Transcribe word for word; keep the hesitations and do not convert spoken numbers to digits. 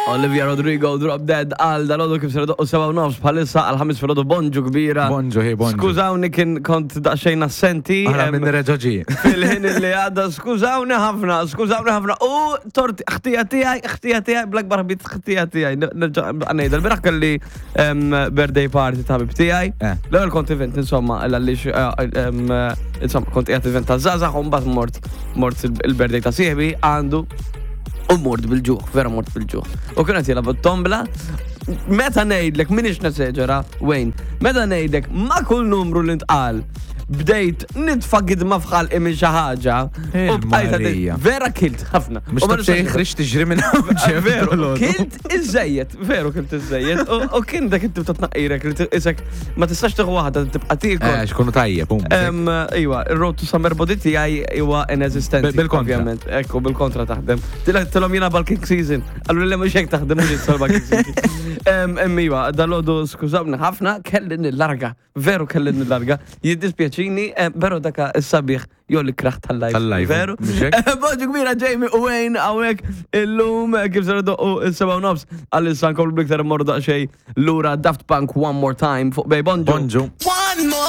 Olivia Rodrigo, Drop Dead, għal dalgħodu kif ser idoqqu sebgħa u nofs bħalissa għal ħamis filgħodu, bonġu kbira. Bonġu, hi, bonġu. Skużawni, kien kont daqsxejn assenti. Aħna em, minn reġoġi. Fil-ħin li għadda, skużawni ħafna, skużawni ħafna. U tort, ħtija tiegħi, ħtija tiegħi, bl-akbar ħbit ħtija tiegħi. Nerġa' ngħidha, l-bieraħ kelli em, birthday party ta' ħabib tiegħi. Eh. L-ewwel kont event, insomma, għaliex eh, em, eh, insomma, kont qiegħed event ta' żgħażagħ u mbagħad mort mort il-birthday ta' sieħbi għandu u mort bil-ġuħ, vera mort bil-ġuħ. U kienet jilagħbu tombla. Meta ngħidlek, m'iniex neseġera, Wayne, meta ngħidlek ma' kull numru li ntqal, bdejt nitfa' gidma f'ħalqi minn xi ħaġa. U bqajt għaddej- Il-Marija. Vera kilt ħafna. Mux U ma ta' xejn nistax- ħriġt tiġri minn hawn ġew. Veru, kilt iżejjed, veru kilt iżejjed. U- U kien dak it-tip ta' tnaqqirek li t- isek ma tistax tieħu waħda, tibqa' tiekol. Eh, xkunu tajjeb, um. Em, Iwa, il-road to summer body tiegħi huwa inesistenti. Bil- bil-kontra. Ovvjament, ekku, bil-kontra taħdem. Tilhom jiena bulking season. Għallu li mhux hekk taħdem, mhux issa bulking season. Em, em, Iwa, dalgħodu skużawni ħafna, kelli nillarga. Veru kelli nillarga. Jiddispjaċini, em, pero daka s-sabiħ jew l-ikrah tal-life. Tal-life, Veru? mhux hekk? Bonġu kbira, Jamie u Wayne hawnhekk illum kif ser idoqqu is-sebgħa u nofs għal-issa nkomplu bliktar immorru daqsxejn lura Daft Punk, One More Time fuq Bay. Bonġu. Bonġu. One more.